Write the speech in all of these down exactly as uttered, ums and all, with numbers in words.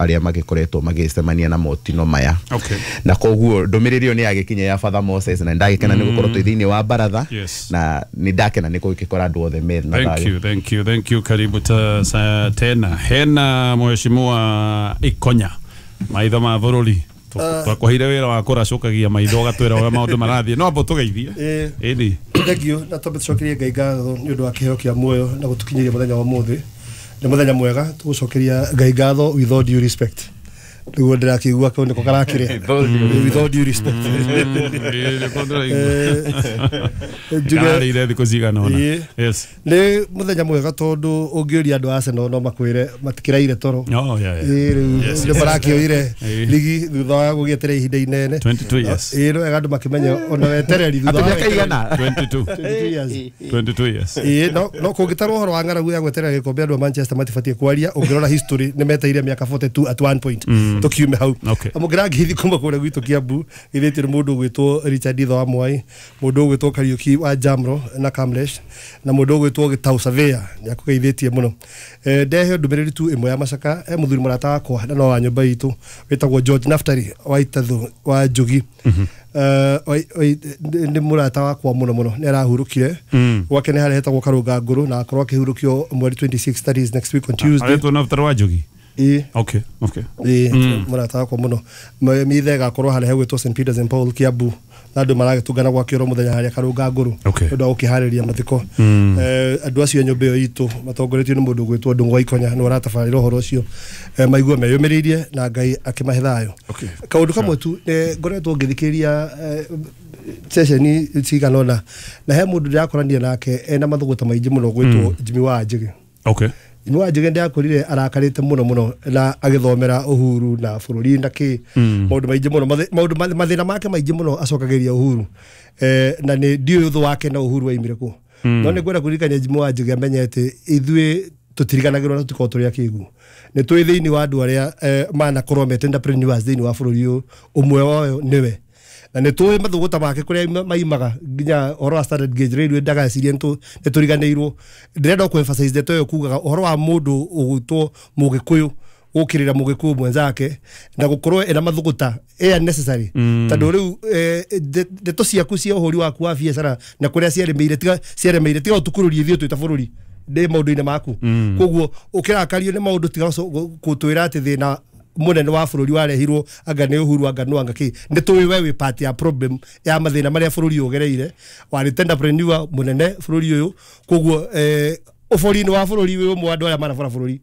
Arĩa magĩkoretwo magĩcemania na motino maya. Okay. Na koguo ndũmĩrĩri ĩyo nĩ yagĩkinya ya Father Moses, na ndagĩkena nĩ gũkorwo twĩ thĩinĩ wa baratha. Yes. Na nĩ ndakena nĩ gũgĩkora andũ othe me na Thank thayũ. you, thank you, thank you. Karibu ta, sa, tena hena mheshimiwa Ikonya, maitho ma bũrũri. Twakũheire wĩra wa kũracũkagia maitho ũgatwĩra ũrĩa maũndũ marathiĩ, no amba tũgeithie. Ĩĩ. Ĩni. Thank you. Na twambe tũcokerie Ngai ngatho nĩ ũndũ wa kĩheo kĩa muoyo na gũtũkinyĩria mũthenya wa ũmũthĩ. Nĩ mũthenya mwega tũgũcokeria Ngai ngatho with all due respect, nĩguo ndĩrakĩigua kau nĩko karakĩrĩa, with all due respect. Eh, njuge Kararĩire thikũ cigana ũna. Ĩĩ. Yes. Nĩ mũthenya mwega tondũ ũngĩũria andũ a Arsenal no makwĩre matikĩraire toro. Oh, yeah, yeah. Ĩĩ, rĩu Yes, nĩ yes. marakĩoire Ĩĩ. ligi thutha wa gũgĩeterera ihinda inene. twenty-two years. Ĩĩ, nĩ wega andũ makĩmenya ona wetereri thutha Atĩ wa mĩaka igana? twenty-two. twenty-two years. twenty-two years. Ĩĩ, no no kũngĩtarwo ũhoro wa ng'aragu ya gweterera gĩkombe, andũ a Manchester matibatiĩ kwaria. Ũngĩrora history, nĩ meteire mĩaka forty-two at one point. Tũkiume hau. Okay. Amũkĩra ngeithi kuma kũrĩa gwitũ Kiambu, githĩtio nĩ mũndũ ũgwĩtwo Richard Itho wa Mwai, mũndũ ũgwĩtwo Kariuki wa Jamro na Kamlesh, na mũndũ ũgwĩtwo Gĩtau Surveyor nĩ akũgeithĩtie mũno. Eh, ndehe ndũmĩrĩri tu ĩmwe ya macaka. He mũthuri mũrata wakwa na no wa nyũmba itũ wĩtagwo George Naftali wa Itathu wa Njugi. Eh, oi- oi- nĩ mũrata wakwa mũno mũno, nĩ arahurũkire. Gwake nĩ harĩa hetagwo Karũnga Ngũrũ, na akorwo akĩhurũkio mweri twenty-six, that is next week on Tuesday. Aretwo Naftali wa Njugi? Ĩĩ. Okay, okay. Ĩĩ, mũrata wakwa mũno. M- mithe ĩgakorwo harĩa hegwĩtwo Saint Peters and Paul Kiambu, na andũ maragĩtũngana gwake oro mũthenya harĩa Karũnga Ngũrũ Okay. nĩ ũndũ wa gũkĩharĩria mathiko. Eh, andũ acio a nyũmba ĩyo itũ matongoretio nĩ mũndũ ũgwĩtwo Ndũng'ũ wa Ikonya nĩ aratabarĩra ũhoro ũcio. Eh, maigue meyũmĩrĩirie na Ngai akĩmahe thayũ. Okay. Kaũndũ kamwe tu, eh, ngoretwo ngĩthikĩrĩria eh, ceceni cigana ũna, na he mũndũ ndĩrakorania nake ena mathũgũta maingĩ mũno gwĩtwo Jimmy wa Njĩgĩ. Okay. Jimmy wa Njĩgĩ ndĩrakorire arakarĩte mũno mũno na agĩthomera Uhuru na bũrũri na kĩ maũndũ maingĩ mũno. Mathĩ- maũndũ mathĩna make maingĩ mũno acokagĩria Uhuru. eh, na nĩ ndiũĩ ũthũ wake na Uhuru waimire kũ, no nĩ ngwenda kũririkania Jimmy wa Njĩgĩ amenye atĩ ithuĩ tũtiriganagĩrwo na tũtikorwo tũrĩ akĩgu. Nĩ twĩ thĩinĩ wa andũ arĩa eh, manakorwo mete entrepreneurs thĩinĩ wa bũrũri ũyũ, ũmwe wao nĩwe, na nĩ tũĩ mathũgũta make kũrĩa ima- maimaga nginya ũhoro wa standard gauge railway. Ndagacirie nĩ tũriganĩirwo. Ndĩrenda kũ emphasize ndeto ĩyo kugaga ũhoro wa mũndũ ũgwĩtwo Mũgĩkũyũ gũkĩrĩra Mũgĩkũyũ mwenzake na gũkorwo ena mathũgũta ĩ unnecessary, tondũ rĩu eh, nde- ndeto ciaku cia ũhũri waku wa biacara na kũrĩa ciaremeire, tiga ciaremeire, tiga ũtũkururie ithuĩ twĩ ta bũrũri ndĩ maũndũ-inĩ maku. Koguo ũkĩrakario nĩ maũndũ, tiga gũco- gũtwĩra atĩ thĩna mũnene wa bũrũri warehirwo anga nĩ Uhuru, anga nũ, anga kĩ. Nĩ tũĩ we wĩ part ya problem ya mathĩna marĩa bũrũri ũyũ ũgereire. Warĩ entrepreneur mũnene bũrũri ũyũ, koguo eh, ũbori-inĩ wa bũrũri wĩ ũmwe wa andũ arĩa manabora bũrũri.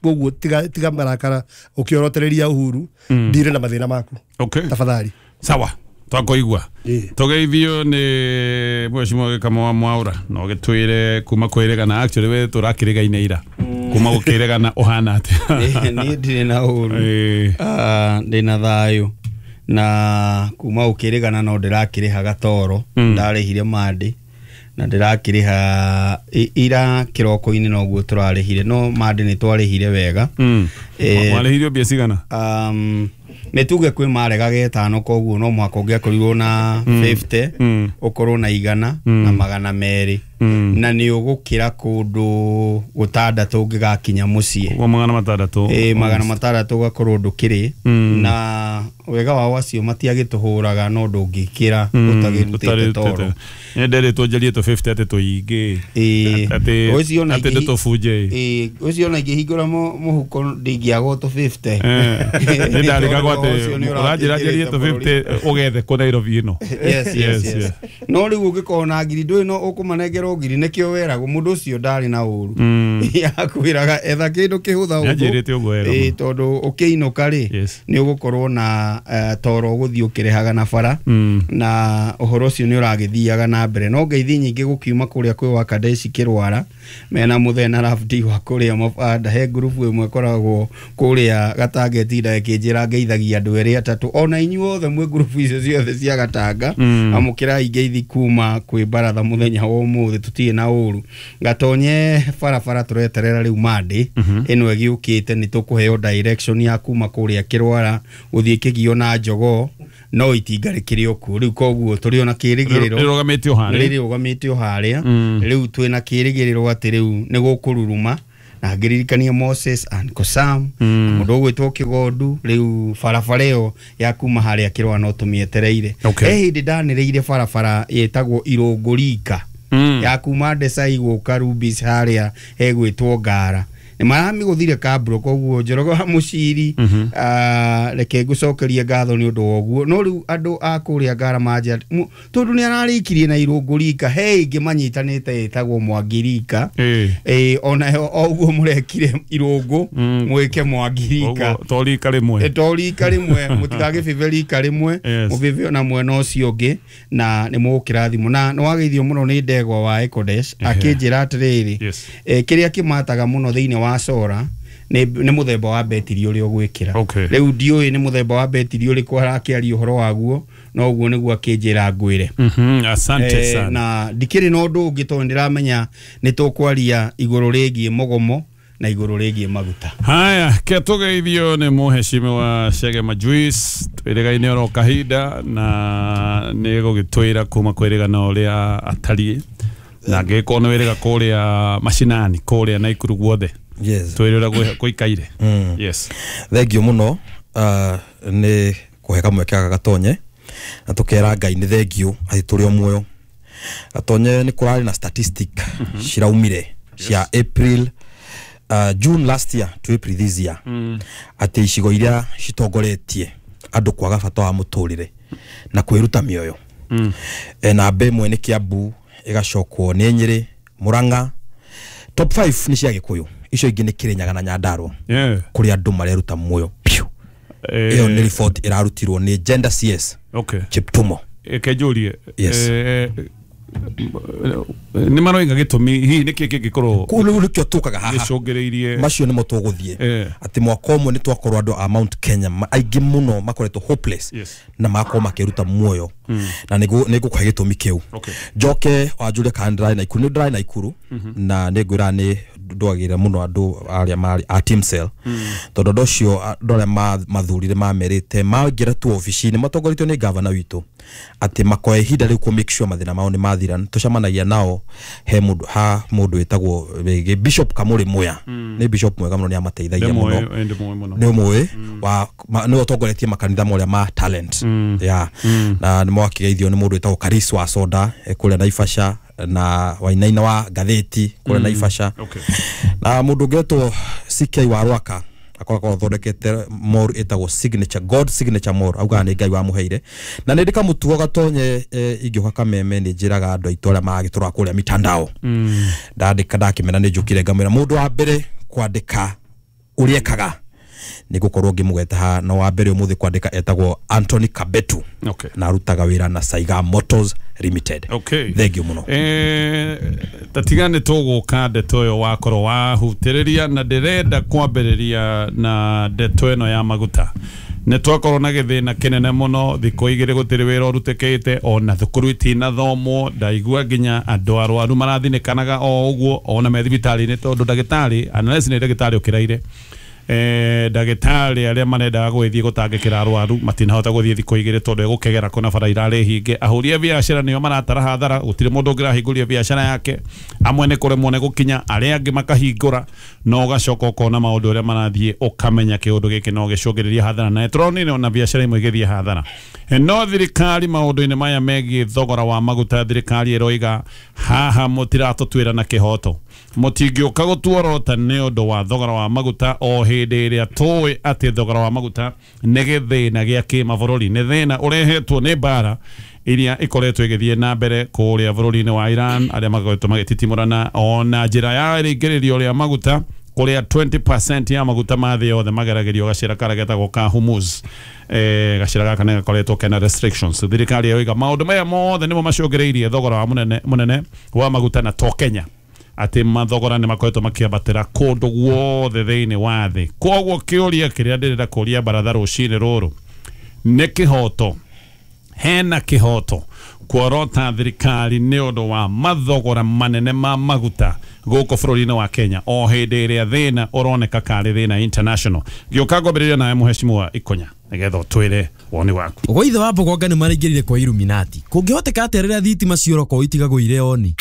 Koguo tiga tiga marakara ũkĩorotereria Uhuru, ndire na mathĩna maku. Okay. Tafadhali. Sawa, twakoigua. Ĩĩ. Tũgeithio nĩ mheshimiwa Gĩkamo wa Mwaũra, na ũgĩtwĩre kuma kwĩrĩgana. Actually we tũrakĩrĩgaine ira, kuma gũkĩrĩgana ũhana atĩa? Niĩ ndirĩ na ũru. Ĩĩ. Ah, ndĩna thayũ, na kuma ũkĩrĩgana no ndĩrakĩrĩha gatoro. Ndarĩhire mandĩ na ndĩrakĩrĩha i- ira kĩroko-inĩ noguo tũrarĩhire, no mandĩ nĩ twarĩhire wega. Mm. Eh, Warĩhirio mbia cigana? um, nĩ tuge kwĩ maregaga ĩtano, koguo no mũhaka ũngĩakorirwo na fifty, Mm. ũkorwo na igana na magana merĩ, na nĩ ũgũkĩra kũndũ gũtandatũ ũngĩgakinya mũciĩ. Ũguo magana matandatũ. Ĩ, magana matandatũ ũgakorwo ndũkĩrĩ na wega wao acio matiagĩtũhũraga, no ndũngĩkĩra ũtagĩrutĩte toro. Nĩ nderĩtwo njarie tũ fifty atĩ tũingĩ. Ĩ, atĩ ũcio ona atĩ ingĩhi- ndĩtũbunje. Ĩ, ũcio ona ingĩhingũra mũ- mũhuko ndingĩagwo tũ fifty. Nĩ ndarĩkagwo atĩ Ũcio nĩ ũranjĩra njarie tũ ũrakĩingĩrĩte. fifty ũgethe kũ Nairobi ĩno. yes, yes, Yes, yes. yes. No rĩu ũngĩkorwo na ngiri ndũĩ no ũkũmanengera ngiri, nĩkĩo weragwo mũndũ ũcio ndarĩ na ũru, akwĩraga etha kĩndũ kĩhũtha. Nĩanjĩrĩte ũguo wega Ĩ, mũno. tondũ ũkĩinũka rĩ, Yes. nĩ ũgũkorwo na eh, toro ũgũthiĩ ũkĩrĩhaga na bara, Mm. na ũhoro ũcio nĩ ũragĩthiaga na mbere. No ngeithi nyingĩ gũkiuma kũrĩa kwĩ wa Kadeshi Kĩrwara mena mũthee na Rafdi wa kũrĩa mabanda. He ngurubu ĩmwe ĩkoragwo kũrĩa Gatanga ĩtindaga ĩkĩnjĩra ngeithagia andũ erĩ atatũ, ona inyuothe mwĩ ngurubu icio ciothe cia Gatanga. Mm. Amũkĩrai ngeithi kuma kwĩ baratha mũthenya wa ũmũthĩ. Tũtirĩ na ũru gatonye barabara, tũreterera rĩu mandĩ ĩno ĩgĩũkĩte nĩ tũkũheo direction ya kuma kũrĩa Kĩrwara gũthiĩ Kĩgio na Njogoo, no itinga rĩkĩrĩ o kuo rĩu, koguo tũrĩ ona kĩrĩgĩrĩro. Rĩrũgamĩtio harĩa. Rĩrũgamĩtio harĩa. Mm. Rĩu twĩna kĩrĩgĩrĩro atĩ rĩu nĩ gũkũruruma Na ngĩririkania Moses and Kosam, mũndũ ũgwĩtwo Kĩgondu. Rĩu barabara ĩyo ya kuma harĩa Kĩrũa no tũmĩetereire. Okay. He hĩndĩ ndanĩrĩire barabara ĩtagwo Irũngũrika Mm. ya kuma Ndecai gũka Rubis harĩa hegwĩtwo Ngara, nĩ maramĩgũthire kabro. Koguo Njoroge wa Mũciri, ah, reke ngũcokerie ngatho nĩ ũndũ wa ũguo. No rĩu andũ a kũrĩa Ngara manjia tondũ nĩ ararĩkirie na Irũngũrika, he ĩngĩ manyitanĩte ĩtagwo Mwangirika. Ĩĩ. Ĩĩ, onayo o ũguo mũrekire Irũngũ, Mm. mwĩke Mwangirika. Ũguo, to rika rĩmwe. To rika rĩmwe, mũtigagĩbĩbe rika rĩmwe. Yes. Mũbĩbe ona mwena ũcio ũngĩ na nĩ mũgũkĩrathimwo. Na nĩ wageithio mũno nĩ ndegwa wa Ecodesh, akĩnjĩra atĩrĩrĩ, Yes. eh, kĩrĩa kĩmataga mũno thĩinĩ wa Sora nĩ nĩ mũthemba wa betiri ũrĩa ũgwĩkĩra. Okay. Rĩu ndiũĩ nĩ mũthemba wa betiri ũrĩkũ arakĩaria ũhoro waguo, no ũguo nĩguo akĩnjĩra ngwĩre. Mhm, asante Eh, sana. Na ndikĩrĩ na ũndũ ũngĩ tondũ ndĩramenya nĩ tũkwaria igũrũ rĩgiĩ mũgomo na igũrũ rĩgiĩ maguta. Haya, ke tũgeithio nĩ mũheshimiwa Chege Majuice, twĩrĩgaine oro kahinda na nĩ gũgĩtwĩra kuma kwĩrĩgana ũrĩa atariĩ, na angĩgĩkorwo nĩ wĩrĩga kũrĩa macinani kũrĩa Naikuru guothe, Yes. twĩre ũrĩa gwĩ- gũikaire. Mm. Yes. Thengio muno uh, nĩ kũhe kamweke gaka gatonye na tũkera Ngai nĩ thengio atĩ tũrĩ o muoyo. Gatonye, nĩ kũrarĩ na statistic ciraumire cia April, uh, June last year to April this year, atĩ icigo iria citongoretie andũ kwaga bata wa mũtũrĩre na kwĩruta mĩoyo, mm. e, namba ĩmwe nĩ Kiambu, ĩgacokwo nĩ Nyĩrĩ, Murang'a. Top five nĩ cia Gĩkũyũ, icio ingĩ nĩ Kĩrĩnyaga na Nyandarua, Yeah. kũrĩa andũ mareruta muoyo piũ. Eh, Ĩyo nĩ report ĩrarutirwo nĩ Gender C S okay. Cheptumo. Eke njũrie. Yes. Eh, nĩ maroiga gĩtũmi hihi nĩkĩ kĩngĩkorwo Kũu rĩu nĩkĩo tũkaga haha. gĩcũngĩrĩirie? Macio nĩmo tũgũthiĩ, Eh. atĩ mwaka ũmwe nĩ twakorwo andũ a Mount Kenya ma- aingĩ mũno makoretwo hopeless Yes. na magakorwo makĩruta muoyo, na nĩngũ- nĩngũkũhe gĩtũmi kĩu. Okay. Njoke wanjũrie kana ndĩrarĩ Naikuru. Nĩ ndĩrarĩ Naikuru na nĩ ngwĩra nĩ ndwagĩrĩra mũno andũ arĩa marĩ a team cell, tondũ andũ acio, andũ arĩa ma- mathurire mamerĩte maingĩra tu obici-inĩ matongoretio nĩ gavana witũ atĩ makoya ihinda rĩu kũ make sure mathĩna mao nĩ mathira. Tũcemanagia nao he mũndũ ha mũndũ wĩtagwo rĩngĩ Bishop Kamũrĩ Muya, nĩ bishop mwega mũno, nĩ amateithagia mũno. Ndĩmũĩ mũno. Nĩ ũmũĩ wa ma- nĩwe ũtongoretie makanitha marĩa ma talent ya, na nĩ mwakĩgeithio nĩ mũndũ wĩtagwo Karis wa Soda, eh, kũrĩa Naivasha, na Wainaina wa ngathĩti kũrĩa Naivasha, Okay. na mũndũ ũngĩ wetwo C K wa Rwaka akoragwo athondekete mall ĩtagwo Signature God Signature Mall, augaga nĩ Ngai wamũheire. Na nĩ ndĩ kamũtugo gatonye, eh, ingĩũka kameme nĩ njĩraga andũ aitũ arĩa magĩtũraga kũrĩa mitandao, ndandĩka ndakĩmena nĩ njũkire ngamwĩra mũndũ wa mbere kwandĩka ũrĩa ekaga nĩ ngũkorwo ngĩmũgweta haha, na wa mbere ũmũthĩ kwandĩka etagwo Anthony Kabetu, Okay. na arutaga wĩra na Saiga Motors Limited. Okay. Thengio mũno. Eh, tatiga nĩ tũgũka ndeto ĩyo wakorwo wahutĩrĩria, na ndĩrenda kwambĩrĩria na ndeto ĩno ya maguta. Nĩ twakorwo na gĩthĩna kĩnene mũno thikũ igĩrĩ, gũtirĩ wĩra ũrutĩkĩte, ona thukuru itinathomwo. Ndaigua nginya andũ arwaru marathinĩkanaga o ũguo ona me thibitarĩ-inĩ, tondũ ndagĩtarĩ, unless nĩ ndagĩtarĩ ũkĩraire, eh, ndagĩtarĩ arĩa marendaga gũgĩthiĩ gũtangĩkĩra arwaru matinahota gũthiĩ thikũ igĩrĩ tondũ egũkegera kũna bara irarĩ hinge. Ahũri a biacara nĩo maratara hathara, gũtirĩ mũndũ ũngĩrahingũria biacara yake. Amwe nĩ kũremwo nĩ gũkinya, arĩa angĩ makahingũra, no ũgacoka ũkona maũndũ ũrĩa marathiĩ, ũkamenya kĩũndũ gĩkĩ no gĩcũngĩrĩrie hathara, na tũronire ona biacara imwe igĩthiĩ hathara. No thirikari maũndũ-inĩ maya megiĩ thogora wa maguta, thirikari ĩroiga haha mũtiratũtuĩra na kĩhoto, mũtingĩũka gũtuorota nĩ ũndũ wa thogora wa maguta o hĩndĩ ĩrĩa tũĩ atĩ thogora wa maguta nĩ gĩthĩna gĩa kĩmabũrũri, nĩ thĩna ũrehetwo nĩ mbara iria ĩkoretwo ĩgĩthiĩ na mbere kũrĩa bũrũri-inĩ wa Iran, arĩa makoretwo magĩtitimũrana, ona njĩra ya rĩingĩrĩrio rĩa maguta kũrĩa twenty percent ya maguta ma thĩ yothe mageragĩrio gacĩra karĩa getagwo ka Hormuz. eh, gacĩra gaka nĩ gakoretwo kena restrictions. Thirikari yoiga maũndũ maya mothe nĩmo macũngĩrĩirie thogora wa mũnene mũnene wa maguta, na to Kenya atĩ mathogora nĩ makoretwo makĩambatĩra kũndũ guothe thĩinĩ wa thĩ. Koguo kĩũria kĩrĩa ndĩrenda kũria baratha rũcinĩ rũrũ nĩ kĩhoto, hena kĩhoto kuorota thirikari nĩ ũndũ wa mathogora manene ma maguta gũkũ bũrũri-inĩ wa Kenya o hĩndĩ ĩrĩa thĩna ũroneka karĩ thĩna international? Gĩũka ngwambĩrĩria nawe mũheshimiwa Ikonya nĩgetha ũtwĩre woni waku. Gwa ithe wa Mbogonga nĩ maraingĩrire kwa Illuminati. Kũngĩhoteka atĩa rĩrĩa thitima ciora ko itigagwo ire oni?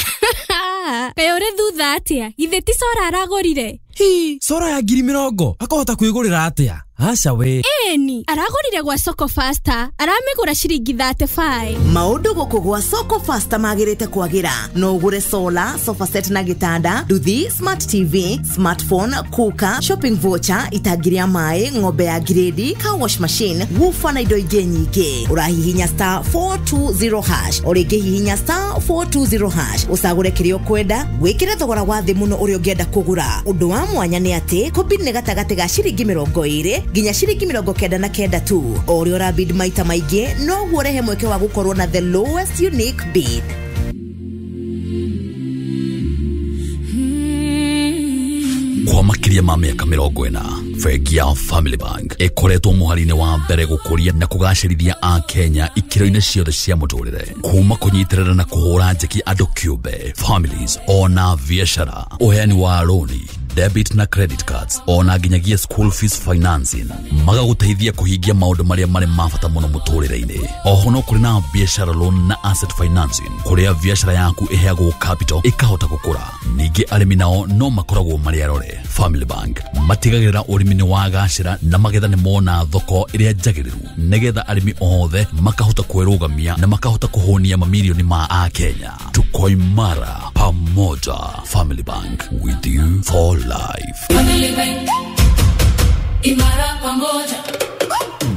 Kaĩ ũrĩ thutha atĩa? Githĩ ti cora aragũrire? Hi, sora ya ngiri mĩrongo akahota kwĩgũrĩra atĩa? Aca we. Eni, aragũrire gwa Soko Faster, aramĩgũra ciringi thirty-five. Maũndũ gũkũ gwa Soko Faster magĩrĩte kwagĩra. No ũgũre solar, sofa set na gĩtanda, nduthi, smart T V, smartphone, cooker, shopping voucher, itangi rĩa maĩ, ng'ombe ya grade, car wash machine, woofer na indo ingĩ nyingĩ. Ũrahihinya star four two zero hash, o rĩngĩ hihinya star four two zero hash, ũcagũre kĩrĩa ũkwenda, wĩkĩre thogora wa thĩ mũno ũrĩa ũngĩenda kũgũra. Ũndũ wa mwanya nĩ atĩ kũbid nĩ gatagatĩ ga ciringi mĩrongo ĩrĩ nginya ciringi mĩrongo kenda na kenda tu. O ũrĩa ũrabid maita maingĩ noguo ũrehe mweke wa gũkorwo na the lowest unique bid. Kwa makiria ma mĩaka mĩrongo ĩna, bengi ya Family Bank ĩkoretwo mũhari-inĩ wa mbere gũkũria na kũgacĩrithia a Kenya ikĩro-inĩ ciothe cia mũtũrĩre, kuma kũnyitĩrĩra na kũhũra njeki andũ kĩũmbe, families ona biacara, ũheani wa roni, debit na credit cards, ona nginyagia school fees financing, magagũteithia kũhingia maũndũ marĩa marĩ ma bata mũno mũtũrĩre-inĩ. Oho no kũrĩ na biacara loan na asset financing, kũrĩa biacara yaku ĩheagwo capital ĩkahota gũkũra. Ningĩ arĩmi nao no makoragwo marĩ arore. Family Bank matigagĩrĩra ũrĩmi nĩ wagacĩra na magetha nĩ mona thoko ĩrĩa njagĩrĩru, nĩgetha arĩmi othe makahota kwĩrũgamia na makahota kũhũnia mamirioni ma Akenya. Tuko imara pamoja. Family Bank, with you for life. Family Bank, imara pamoja.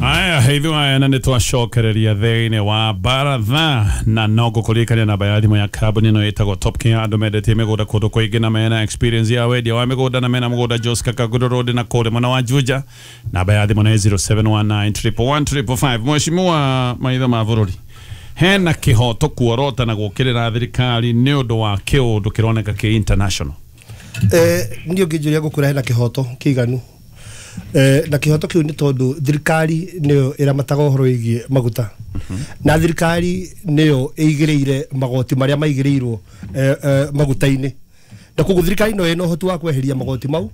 Aya, hithu aya na nĩtwacokereria thĩinĩ wa baratha na no ngũkũririkania namba ya thimũ ya kambuni ĩno ĩtagwo Top King. Andũ mendetie mĩgũnda kũndũ kũingĩ na mena experience ya wendia wa mĩgũnda na mena mũgũnda Jos Kangundo Road na kũrĩ mwena wa Juja. Namba ya thimũ nĩ zero seven one nine triple one triple five. Mheshimiwa maitho ma bũrũri, hena kĩhoto kuorota na gũkĩrĩra thirikari nĩ ũndũ wa kĩũndũ kĩroneka kĩ international? Eh, niĩ ũngĩnjũria gũkũra hena kĩhoto kĩiganu. Eh, na kĩhoto kĩu nĩ tondũ thirikari nĩyo ĩramataga ũhoro wĩgiĩ maguta, na thirikari nĩyo ĩigĩrĩire magoti marĩa maigĩrĩirwo eh, eh, maguta-inĩ, na koguo thirikari no ĩna ũhoti wa kweheria magoti mau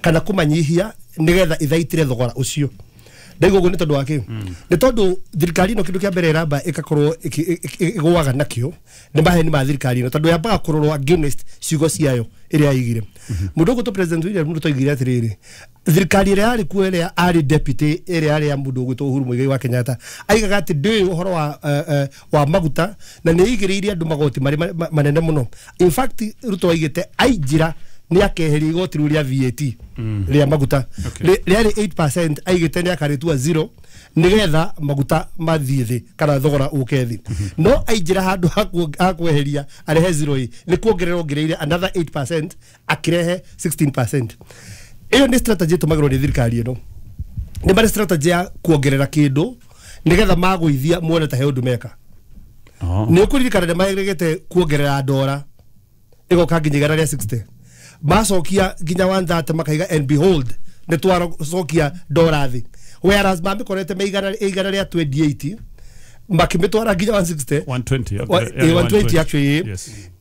kana kũmanyihia nĩgetha ithaitĩre thogora ũcio. Ndaigua ũguo nĩ tondũ wa kĩ? Nĩ tondũ thirikari ĩno kĩndũ kĩa mbere ĩramba ĩgakorwo ĩgũaga nakĩo nĩ maheni ma thirikari ĩno, tondũ yambaga kũrorwo against ciugo ciayo ĩrĩa yaigire. Mũndũ ũgwĩtwo President William Ruto oigire atĩrĩrĩ, thirikari ĩrĩa yarĩ kuo ĩrĩa arĩ deputy ĩrĩa yarĩ ya mũndũ ũgwĩtwo Uhuru Muigai wa Kenyatta aigaga atĩ ndĩũĩ ũhoro wa, uh, wa maguta na nĩ ĩigĩrĩire andũ magoti marĩ manene mũno. In fact Ruto aigĩte ainjĩra nĩ akeheria igoti rĩu rĩa V A T rĩa maguta rĩarĩ eight percent, aigĩte nĩ akarĩtua zero nĩgetha maguta mathiĩ thĩ kana thogora ũke thĩ. No ainjĩra handũ ha kweheria arehe zero ĩ nĩ kuongerera ongereire another eight percent akĩrehe sixteen percent. Ĩyo nĩ strategy ĩtũmagĩrwo nĩ thirikari ĩno. Nĩ marĩ strategy ya kuongerera kĩndũ nĩgetha magũithia muone ta he ũndũ meka. Nĩ ũkũririkana nĩ maregete kuongerera ndora ĩgoka nginya igana rĩa sixty, macokia nginya one thirty makaiga and behold nĩ twacokia ndora thĩ, whereas mamĩkorete me igana igana rĩa twenty-eight makĩmĩtwara nginya one sixty, one twenty, one twenty actually.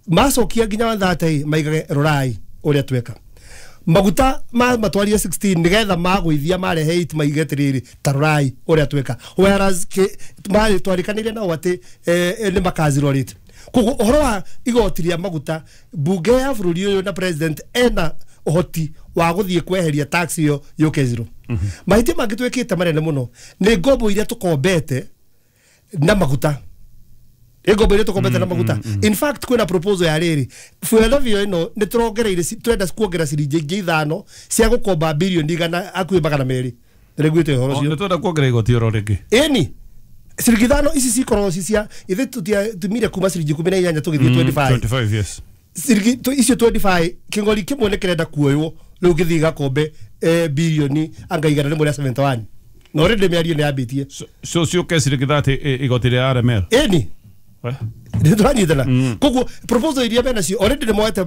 Macokia nginya one thirty maigage rorai ũrĩa tweka maguta ma matwarie sixteen nigetha magũithia marehe eight maige atĩrĩrĩ ta rorai ũrĩa tweka, whereas marĩ twarikanĩire nao atĩ nĩ makaziro rate. Koguo ũhoro wa igoti rĩa maguta, bunge ya bũrũri ũyũ na president ena ũhoti wa gũthiĩ kweheria tax ĩyo yũke zero. Mahĩtia mangĩ twĩkĩte manene mũno nĩ ngombo iria tũkombete na maguta. Ngombo iria tũkombete na maguta. In fact kwĩna proposal ya rĩrĩ fuel levy ĩno nĩ tũrongereire, tũrenda kuongerera ciringi ingĩ ithano cia gũkomba bilioni igana hakuhĩ magana merĩ. Nĩguĩte ũhoro ũcio. Nĩ tũrenda kuongerera igoti oro rĩngĩ. Ĩni ciringi ithano ici cikoragwo ci cia ithe tũtiatumire kuma ciringi ikũmi na inyanya tũgĩthiĩ twenty-five. twenty-five, yes. Ciringi icio twenty-five kĩng'ori kĩmwe nĩ kĩrenda kuoywo rĩu gĩthiĩ gĩgakombe bilioni anga igana rĩmwe rĩa seventy-one. Na already mĩario nĩ yambĩtie. So ciũke ciringi thirty igoti rĩa R M L. Ĩni nĩ tũranyitana. Koguo proposal iria mena cio already nĩ moete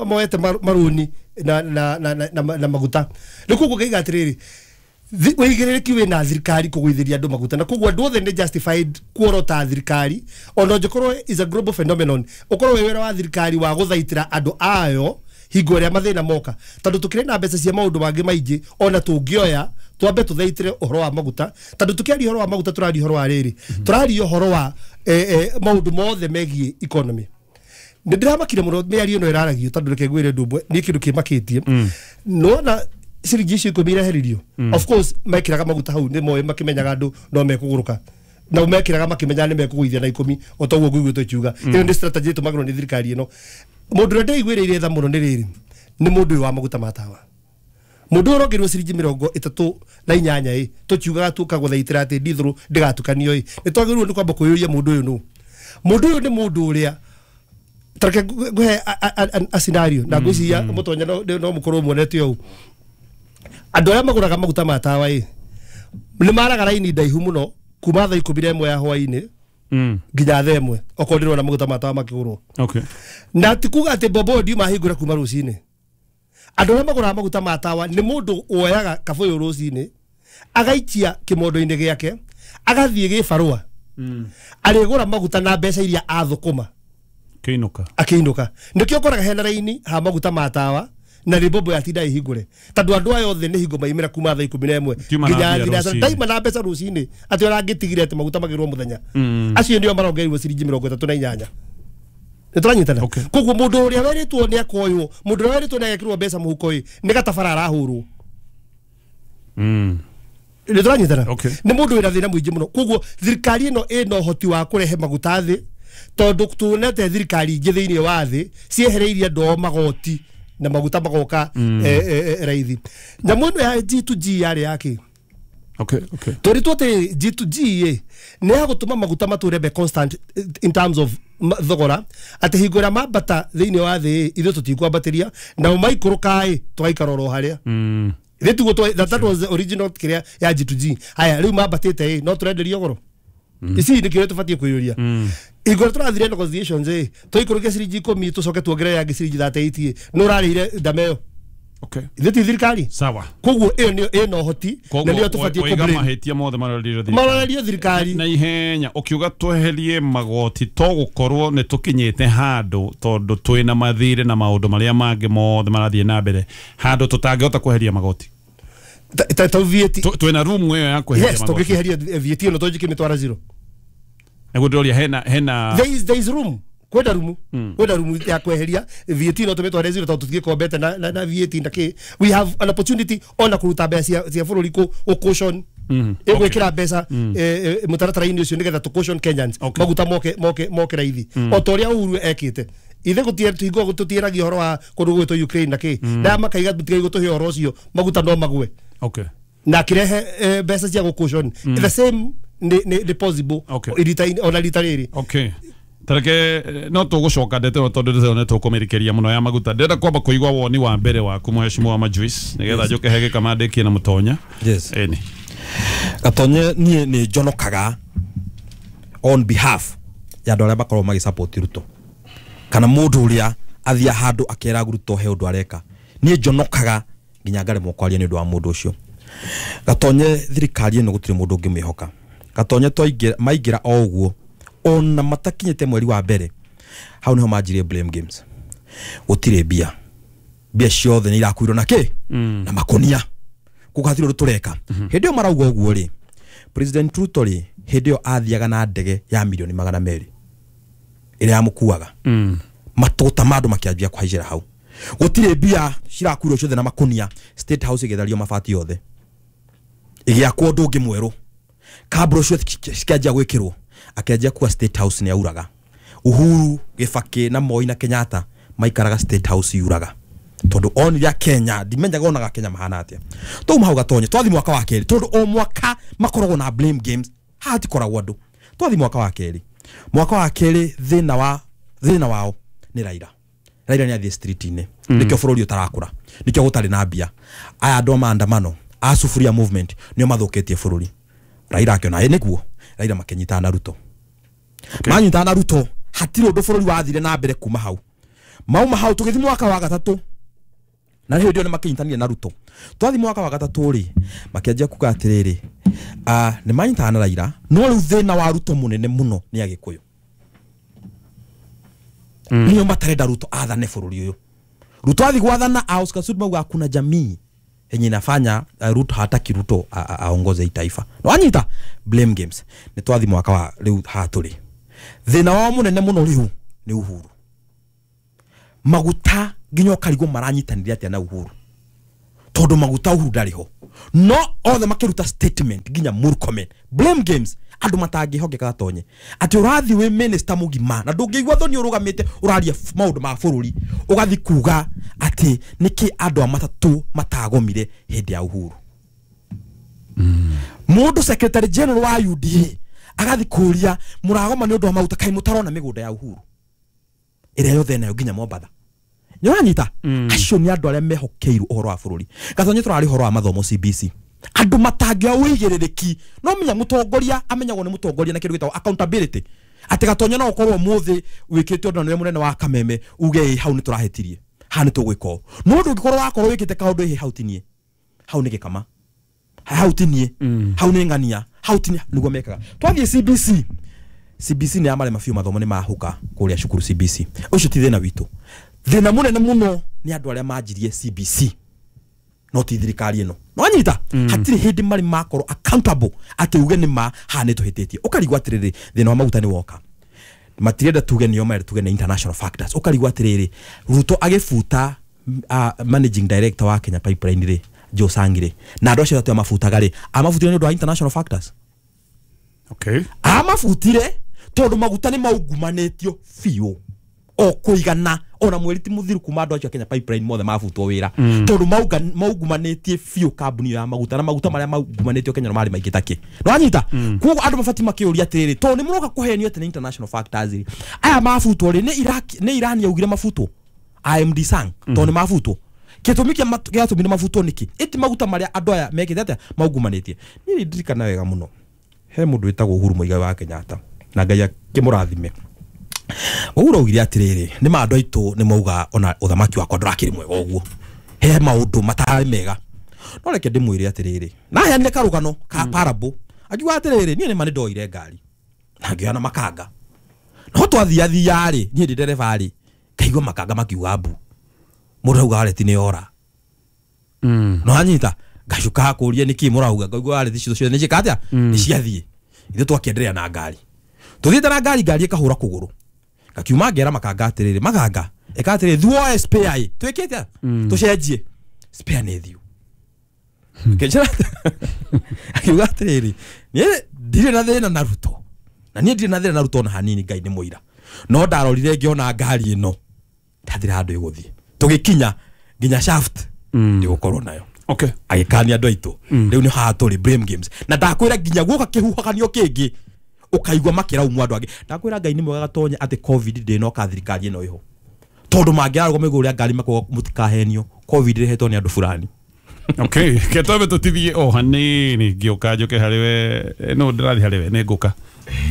moete maruni na na na na maguta. Rĩu koguo ngaiga atĩrĩrĩ, wĩigĩrĩrĩki wĩna thirikari kũgũithĩria andũ maguta, na koguo andũ othe nĩ justified kuorota thirikari ona ũngĩkorwo is a global phenomenon, ũkorwo wĩ wĩra wa thirikari wa gũthaitĩra andũ ayo hingo ĩrĩa mathĩna moka, tondũ tũkĩrĩ na mbeca cia maũndũ mangĩ maingĩ ona tũngĩoya twambe tũthaitĩre ũhoro wa maguta, tondũ tũkĩaria ũhoro wa maguta tũraria ũhoro wa rĩrĩ, tũraria ũhoro wa maũndũ mothe megiĩ economy. Nĩ ndĩramakire mũno mĩario ĩno ĩraragio tondũ reke ngwĩre ũndũ ũmwe nĩ kĩndũ kĩmakĩtie. Nona ciringi icio ikũmi ireheririo, of course mekĩraga maguta hau nĩ moĩ makĩmenyaga andũ no mekũgũrũka na mekĩraga makĩmenyaga nĩ mekũgũithia na ikũmi o ta ũguo ngũiguĩte ũkiuga. Ĩyo nĩ strategy ĩtũmagĩrwo nĩ thirikari ĩno. Mũndũ ũrĩa ndĩiguĩrĩire tha mũno nĩ rĩrĩ, nĩ mũndũ ũyũ wa maguta ma tawa. Mũndũ ũyũ ũrongerwo ciringi mĩrongo ĩtatũ na inyanya ĩ tũkiugaga tũkagũthaitĩra atĩ ndithũrũ ndĩgatukanio ĩ nĩ twagĩrĩirwo nĩ kwamba kwĩyũria mũndũ ũyũ nũ. Mũndũ ũyũ nĩ mũndũ ũrĩa tareke ngũhe a scenario na ngwĩciria mũtonya no mũkorwo muonete ũũ. Andũ arĩa magũraga maguta ma tawa ĩ nĩ maraga raini ndaihu mũno kuma thaa ikũmi na ĩmwe ya hwaĩ-inĩ nginya thaa ĩmwe okorwo ndĩrona maguta ma tawa makĩgũrwo. Okay. Na ti kuga atĩ mbombo ndiuma hingũra kuma rũcinĩ. Andũ arĩa magũraga maguta ma tawa nĩ mũndũ woyaga kabũyũ rũcinĩ agaikia kĩmondo-inĩ gĩake agathiĩ gĩbarũa arĩgũra maguta na mbeca iria athũkũma akĩinũka akĩinũka. Nĩkĩo ũkoraga hena raini ha maguta ma tawa na nĩ mbombo yatinda ĩhingũre tondũ andũ aya othe nĩ hingo maimĩra kuma thaa ikũmi na ĩmwe nginya thinacara ndaima na mbeca rũcinĩ atĩ orangĩtigire atĩ maguta magĩrwo mũthenya. Acio nĩo marongereirwo ciringi mĩrongo ĩtatũ na inyanya. Nĩ tũranyitana. Koguo mũndũ ũrĩa werĩtwo nĩ akoywo, mũndũ ũrĩa werĩtwo nĩ agekĩrwo mbeca mũhuko ĩ nĩ gatabara arahũrwo. Nĩ tũranyitana. Nĩ mũndũ wĩna thĩna mũingĩ mũno. Koguo thirikari ĩno ĩna ũhoti wa kũrehe maguta thĩ tondũ tuonete thirikari ingĩ thĩinĩ wa thĩ ciehereirie andũ ao magoti na maguta magoka raithi. Nyamũ ĩno ya G to G yarĩ yake. Okay, okay. Tweritwo atĩ G to G ĩ nĩ ya gũtũma maguta matũre be constant in terms of thogora atĩ hingo ĩrĩa mambata thĩinĩ wa thĩ ithuĩ tũtikwambatĩria nao maikũrũka ĩ tũgaikara oro harĩa. Ithuĩ tiguo that, that was the original kĩrĩa ya G to G. Haya rĩu mambatĩte ĩ no tũrenderio goro. Ici nĩ kĩũria tũbatiĩ kwĩyũria. Hingo ĩrĩa tũrathire negotiations ĩ tũikũrũkie ciringi ikũmi tũcoke tuongerere yangĩ ciringi thirty eight ĩ nĩ ũrarĩire ndama ĩyo. Okay. Ithuĩ ti thirikari. Sawa. Koguo ĩyo nĩyo ĩna ũhoti na nĩyo tũbatiĩ kũblame. Oiga mahĩtia mothe marorerio thirikari. Marorerio thirikari. Na ihenya ũkiuga tweherie magoti to gũkorwo nĩ tũkinyĩte handũ tondũ twĩna mathirĩ na maũndũ marĩa mangĩ mothe marathiĩ na mbere handũ tũtangĩhota kweheria magoti. Ta ta V A T. Twĩna room ĩyo ya kweheria magoti. Yes, tũngĩkĩeheria V A T ĩno tũngĩkĩmĩtwara zero. Nĩguo ndĩroria hena hena There is there is room. Kwenda rumu kwenda rumu ya kweheria V A T no tũmĩtware zero tondũ tũtigĩkombete na, na, na V A T na kĩ. We have an opportunity ona kũruta mbeca cia, cia bũrũri kũ caution ĩgwĩkĩra mbeca mũtaratara-inĩ ũcio nĩgetha tũ caution Kenyans maguta moke moke moke raithi o ta ũrĩa Uhuru ekĩte. Ithe gũtiĩ tũtiĩragia ũhoro wa kũndũ gwĩtwo Ukraine na kĩ na makaiga tũtigai gũtũhe ũhoro ũcio maguta no magwe. Okay. Na akĩrehe mbeca cia gũ caution the same nĩ nĩ possible ona rita rĩrĩ. Okay. Tareke no tũgũcoka ndeto tondũ ndĩrona tũkũmĩrĩkĩria mũno ya maguta. Ndĩrenda kwamba kũigua woni wa mbere waku mheshimiwa Majuice nĩgetha njũke he gĩkamandĩkie na mũtonya. Yes. Ĩni. Gatonye niĩ nĩ njonokaga on behalf ya andũ arĩa makoragwo magĩsupport Ruto kana mũndũ ũrĩa athia handũ akera Ruto he ũndũ areka. Niĩ njonokaga nginya ngaremwo kwaria nĩ ũndũ wa mũndũ ũcio. Gatonye thirikari ĩno gũtirĩ mũndũ ũngĩmĩhoka. Gatonye twaingĩra maingĩra o ũguo ona matakinyĩte mweri wa mbere hau niho manjirie blame games. Gũtirĩ mbia mbia ciothe nĩ irakuirwo na kĩ na makonia kũgathirwo ũndũ tũreka. Hĩndĩ ĩyo marauga ũguo rĩ, President Ruto rĩ hĩndĩ ĩyo athiaga na ndege ya milioni magana merĩ ĩrĩa yamũkuaga. Matũta ma andũ makĩanjia kũhaicĩra hau. Gũtirĩ mbia cirakuirwo ciothe na makonia. State House ĩgĩthario mabati yothe ĩgĩakwo ũndũ ũngĩ mwerũ, kambro ciothe cikĩanjia gwĩkĩrwo. Akĩanjia kuwa State House nĩ auraga. Uhuru Gĩbakĩ na Moi na Kenyatta maikaraga State House yuraga tondũ onire Kenya ndimenyaga onaga Kenya mahana atĩa. Twauma hau gatonye twathi mwaka wa kerĩ tondũ o mwaka makoragwo na blame games haha hatikoragwo andũ. Twathi mwaka wa kerĩ, mwaka wa kerĩ thĩna wa thĩna wao nĩ Raila. Raila nĩ athiĩ street-inĩ nĩkĩo bũrũri ũtarakũra, nĩkĩo gũtarĩ na mbia. Aya andũ a maandamano a Sufuria movement nĩo mathũkĩtie bũrũri. Raila akĩona ĩ nĩguo Raila makĩnyitana na Ruto. Okay. Manyitana na Ruto hatirĩ ũndũ bũrũri wathire na mbere kuma hau. Mauma hau tũgĩthiĩ mwaka wa gatatũ na hĩndĩ ĩyo nĩ makĩnyitanire na Ruto. Twathi mwaka wa gatatũ rĩ makĩanjia kuga atĩrĩrĩ ah nĩ manyitana na Raila no rĩu thĩna wa Ruto mũnene mũno nĩ Agĩkũyũ. Mm. Nĩo matarenda Ruto athane bũrũri ũyũ. Ruto athi gwathana a Oscar Sudi mauga kuna jamii yenye inafanya uh, Ruto hataki Ruto aongoze taifa. No anyita blame games. Nĩ twathi mwaka wa rĩu hatũrĩ. Thĩna wao mũnene mũno rĩu nĩ Uhuru. Maguta nginya ũkarigwo maranyitanĩire atĩa na Uhuru, tondũ maguta Uhuru ndarĩ ho, no othe makĩruta statement nginya Murkomen blame games, andũ matangĩhokeka. Gatonye, atĩ ũrathiĩ wĩ minister mũgima na ndũngĩigua thoni ũrũgamĩte ũraria f- maũndũ ma bũrũri, ũgathiĩ kuga atĩ nĩkĩ andũ a matatũ matagomire hĩndĩ ya Uhuru. Mũndũ secretary general wa U D A agathi kũria mũragoma nĩ ũndũ wa maguta, kaĩ mũtarona mĩgũnda ya Uhuru ĩrĩa yothe nayo nginya Mombatha? Nĩũranyita? Acio nĩ andũ arĩa mehokeirwo ũhoro wa bũrũri. Gatonye, tũrarĩ ũhoro wa mathomo C B C, andũ matangĩoya ũigĩrĩrĩki. No menya mũtongoria amenyagwo nĩ mũtongoria na kĩndũ gĩtagwo accountability, atĩ Gatonye no ũkorwo ũmũthĩ wĩkĩte ũndũ na nĩwe mũnene wa Kameme, uge ĩ hau nĩ tũrahĩtirie, haha nĩ tũgwĩka ũũ, no ndũngĩkorwo wakorwo wĩkĩte kaũndũ, ĩ hau tinie, hau nĩ gĩkama, hau tinie, hau nĩ ng'ania, hau tinie. Nĩguo mekaga. Twathiĩ C B C, C B C nĩ yamarema biũ, mathomo nĩ mahũka kũrĩa cukuru C B C. Ũcio ti thĩna witũ. Thĩna mũnene mũno nĩ andũ arĩa manjirie C B C, no ti thirikari ĩno. Nĩwanyita? Hatirĩ hĩndĩ marĩ makorwo accountable atĩ uge nĩ ma haha nĩ tũhĩtĩtie. Ũkarigwo atĩrĩrĩ, thĩna wa maguta nĩ woka, matirenda tuge nĩo marenda tuge nĩ international factors. Ũkarigwo atĩrĩrĩ, Ruto agĩbuta uh, managing director wa Kenya Pipeline rĩ, Joe Sangi rĩ, na andũ acio atatũ amabutaga rĩ, amabutire nĩ ũndũ wa international factors? Okay. Amabutire tondũ maguta nĩ maungumanĩtio biũ o kũigana ona mweri ti mũthiru kuma andũ acio a Kenya Pipeline mothe mabutwo wĩra, Mm. tondũ mauga- maungumanĩtie biũ kambuni ĩyo ya maguta, na maguta marĩa maungumanĩtio Kenya no marĩ maingĩ takĩ. Nĩwanyita? Koguo andũ mabatiĩ makĩũria atĩrĩrĩ, tondũ nĩ mũroka kũhenio atĩ nĩ international factors rĩ, aya mabutwo rĩ, nĩ Iraq, nĩ Iran yaugire mabutwo I M D Sang? Tondũ nĩ mabutwo, gĩtũmi kĩa mat- gĩatũmire mabutwo nĩkĩ? Ĩti maguta marĩa andũ aya mekĩte atĩa maungumanĩtie. Niĩ nĩ ndirikana wega mũno, he mũndũ wĩtagwo Uhuru Muigai wa Kenyatta, na Ngai akĩmũrathime. Uhuru augire atĩrĩrĩ, nĩ ma andũ aitũ nĩ mauga ona ũthamaki wakwa ndũrakĩrĩ mwega ũguo, he maũndũ matarĩ mega, no reke ndĩmwĩre atĩrĩrĩ, na heanire karũgano ka parable, akiuga atĩrĩrĩ, niĩ nĩma nĩ ndoire ngari na ngĩoya na makanga, no twathiathia rĩ, niĩ ndĩ ndereba rĩ, ngaigua makanga makiuga mbu, mũndũ auga wareti nĩ yora. No anyita ngacuka kũria nĩkĩ mũrauga, ngaigua wareti ciothe ciothe nĩ ciĩka atĩa, nĩ ciathiĩ. Ithuĩ twakĩenderea na ngari, tũthiĩte na ngari, ngari ĩkahũra kũgũrũ, ngakiuma ngera makanga atĩrĩrĩ, makanga ĩka atĩrĩrĩ, thuoe spare ĩ twĩkĩte tũcenjie spare nĩ thiũ. Akĩnjĩra, akiuga atĩrĩrĩ, niĩ ndirĩ na thĩna na Ruto, na niĩ ndirĩ na thĩna na Ruto ona hanini, Ngai nĩ mũira, no ndarorire ngĩona ngari ĩno ndathira handũ ĩgũthiĩ, tũgĩkinya nginya shaft ndĩgũkorwo nayo. Okay. Agĩkania andũ aitũ rĩu nĩ haha tũrĩ blame games, na ndakwĩra nginya guoka kĩhuhũkanio kĩngĩ ũkaigua makĩraumwo andũ angĩ. Ndakwĩra Ngai nĩ mwega, Gatonya, atĩ COVID ndĩnoka thirikari ĩno ĩho, tondũ mangĩarũgama igũrũ rĩa ngari makuga mũtikahenio, COVID ĩrehetwo nĩ andũ fulani. Okay, ke twambe tũtithie o hanini, ngĩũka njũke harĩ we, no ndĩrathiĩ harĩ we, nĩ ngũka.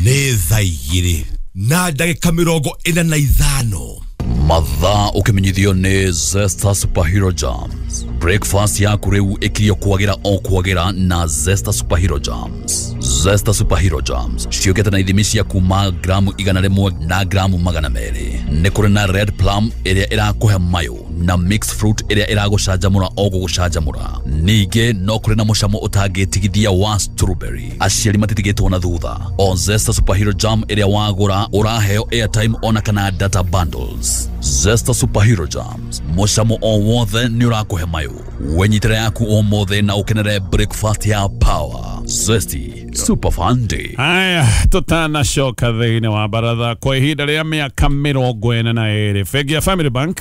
Nĩ thaa igĩrĩ na ndagĩka mĩrongo ĩna na ithano. Mathaa ũkĩmenyithio nĩ Zesta Superhero Jams. Breakfast yaku rĩu ĩkirio kwagĩra o kwagĩra na Zesta Superhero Jams. Zesta Superhero Jams ciũkĩte na ithimi cia kuma gramu igana rĩmwe na gramu magana merĩ. Nĩ kũrĩ na red plum ĩrĩa ĩrakũhe mayũ na mixed fruit ĩrĩa ĩragũcanjamũra o gũgũcanjamũra. Ningĩ no kũrĩ na mũcamo ũtangĩtigithia wa strawberry. Aciari matitigĩtwo na thutha. O Zesta Superhero Jam ĩrĩa wagũra ũraheo airtime ona kana data bundles. Zesta Superhero Jams, mũcamo o wothe nĩ ũrakũhe mayũ. Wenyitĩra yaku ũmũthĩ na ũkenere breakfast ya power. Zesty Super Fun Day. Haya, tutanacoka thĩinĩ wa baratha. Kwa ihinda rĩa mĩaka mĩrongo ĩna na ĩrĩ, bengi ya Family Bank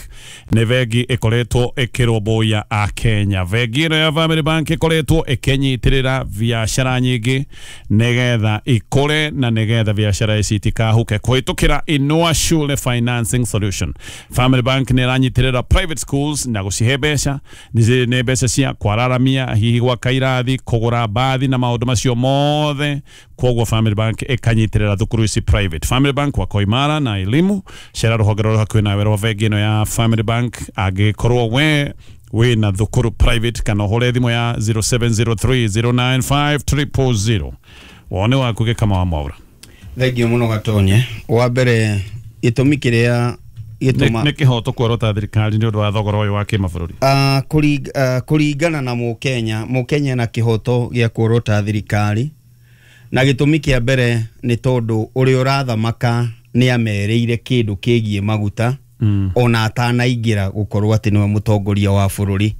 nĩ bengi ĩkoretwo ĩkĩrũmbũiya akenya. Bengi ĩno ya Family Bank ĩkoretwo ĩkĩnyitĩrĩra biacara nyingĩ nĩgetha ikũre na nĩgetha biacara ici itikahuke kũhĩtũkĩra Inua Shule Financing Solution. Family Bank nĩ ĩranyitĩrĩra private schools na gũcihe mbeca, nĩ nĩ mbeca cia kwararamia, hihi gwaka irathi, kũgũra mbathi na maũndũ macio mothe. Koguo Family Bank ĩkanyitĩrĩra thukuru ici private. Family Bank wako imara na elimu. Cera rũhonge rũrĩa hakuhĩ nawe rwa bengi ĩno ya Family Bank angĩkorwo we wĩna thukuru private, kana ũhũre thimũ ya zero seven zero three zero nine five zero zero zero. Wone waku gĩkama wa Mwaura. Thengio mũno, Gatonye. Wa mbere, gĩtũmi kĩrĩa gĩtũma nĩ kĩhoto kuorota thirikari nĩ ũndũ wa thogora ũyũ wa kĩmabũrũri? Uh, kũring, uh, kũringana na mũkenya, mũkenya na kĩhoto gĩa kuorota thirikari, na gĩtũmi kĩa mbere nĩ tondũ ũrĩa ũrathamaka nĩ amerĩire kĩndũ kĩgiĩ maguta. mm. ona atanaingĩra gũkorwo atĩ nĩwe mũtongoria wa bũrũri,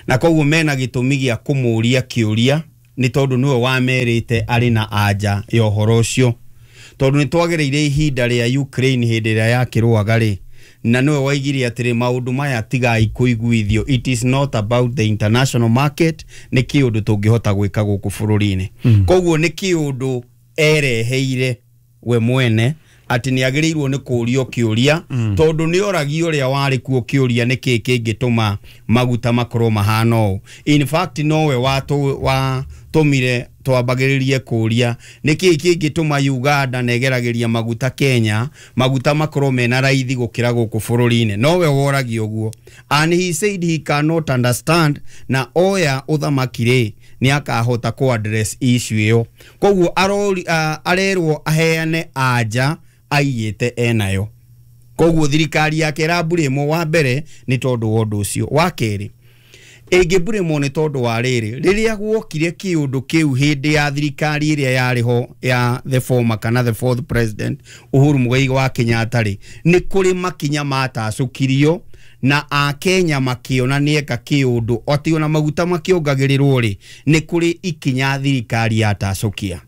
na koguo mena gĩtũmi gĩa kũmũria kĩũria nĩ tondũ nĩwe wamerĩte arĩ na anja ya ũhoro ũcio, tondũ nĩ twagereire ihinda rĩa Ukraine hĩndĩ ĩrĩa yakĩrũaga rĩ, na nĩwe waigire atĩrĩ maũndũ maya tigai kũiguithio, it is not about the international market, nĩ kĩũndũ tũngĩhota gwĩka gũkũ bũrũri-inĩ. mm. Koguo nĩ kĩũndũ ereheire we mwene atĩ nĩ agĩrĩirwo nĩ kũũrio kĩũria, mm. tondũ nĩ oragio ũrĩa warĩ kuo kĩũria nĩ kĩĩ kĩngĩtũma maguta makorwo mahana ũũ. In fact nowe watũmire twambagĩrĩrie kũũria nĩ kĩĩ kĩngĩtũma Uganda na ĩgeragĩria maguta Kenya maguta makorwo mena raithi gũkĩra gũkũ bũrũri-inĩ, nowe woragio ũguo, and he said he cannot understand, na oya ũthamaki rĩ nĩ akahota kũ address issue ĩyo. Koguo arori uh, arerwo aheane anja aiyĩte enayo. Koguo thirikari yake ĩramburĩmwo wa mbere nĩ tondũ wa ũndũ ũcio. Wa kerĩ ĩngĩmburĩmwo nĩ tondũ wa rĩrĩ, rĩrĩa guokire kĩũndũ kĩu hĩndĩ ya thirikari ĩrĩa yarĩ ho ya the former kana the fourth president Uhuru Muigai wa Kenyatta rĩ, nĩ kũrĩ makinya matacũkirio na akenya makĩona nĩeka kĩũndũ atĩ ona maguta makĩongagĩrĩrwo rĩ, nĩ kũrĩ ikinya thirikari yatacũkia.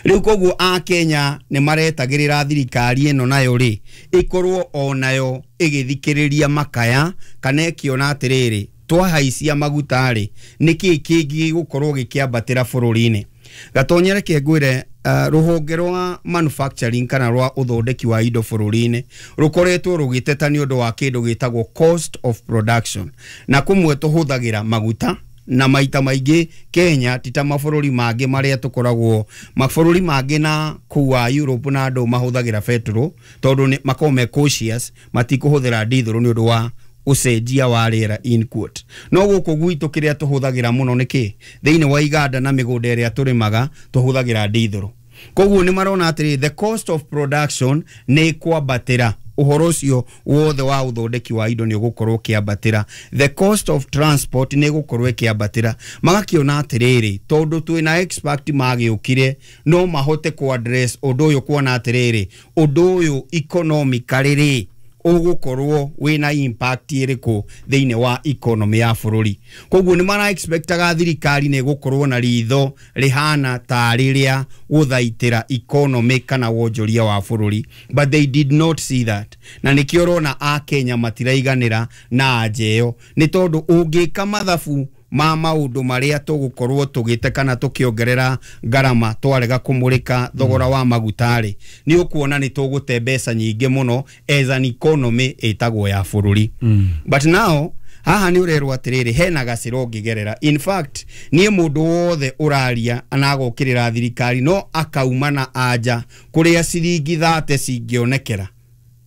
Rĩu koguo akenya nĩ maretagĩrĩra thirikari ĩno nayo rĩ ĩkorwo onayo ĩgĩthikĩrĩria makaya kana ĩkĩona atĩrĩrĩ twahaicia maguta rĩ nĩkĩĩ kĩngĩ gĩgũkorwo gĩkĩambatĩra bũrũri-inĩ. Gatonye reke ngwĩre uh, rũhonge rwa manufacturing kana rwa ũthondeki wa indo bũrũri-inĩ rũkoretwo rũgĩteta nĩ ũndũ wa kĩndũ gĩtagwo cost of production, na kũmwe tũhũthagĩra maguta na maita maingĩ Kenya ti ta mabũrũri mangĩ marĩa tũkoragwo mabũrũri mangĩ na kũu wa Europe na andũ mahũthagĩra betũrũ tondũ nĩ makoragwo me cautious matikũhũthĩra ndithũrũ nĩ ũndũ wa ũcenjia wa rĩera in quote. No gũkũ gwitũ kĩrĩa tũhũthagĩra mũno nĩ kĩ thĩinĩ wa iganda na mĩgũnda ĩrĩa tũrĩmaga tũhũthagĩra ndithũrũ. Koguo nĩ marona atĩrĩ the cost of production nĩ kwambatĩra, ũhoro ũcio wothe wa ũthondeki wa indo nĩ ũgũkorwo ũkĩambatĩra, the cost of transport nĩ ĩgũkorwo ĩkĩambatĩra. Magakĩona atĩrĩrĩ tondũ twĩna expert magĩũkire no mahote kũ address ũndũ ũyũ, kuona atĩrĩrĩ ũndũ ũyũ economically rĩ ũgũkorwo wĩna impact ĩrĩkũ thĩinĩ wa economy ya bũrũri. Koguo nĩ mara expectaga thirikari nĩ ĩgũkorwo na ritho rĩhana tarĩ rĩa gũthaitĩra economy kana wonjoria wa bũrũri, but they did not see that, na nĩkĩo ũrona akenya matiraiganĩra na anja ĩyo, nĩ tondũ ũngĩka mathabu ma maũndũ marĩa tũgũkorwo tũgĩte kana tũkĩongerera ngarama twarega kũmũrĩka thogora wa maguta rĩ, nĩ ũkuona nĩ tũgũte mbeca nyingĩ mũno as an economy ĩtagwo ya bũrũri. mm. But now haha nĩ ũrerwo atĩrĩrĩ hena gacĩra ũngĩgerera. In fact niĩ mũndũ wothe ũraria na agokĩrĩra thirikari no akauma na anja kũrĩa ciringi thate cingĩonekera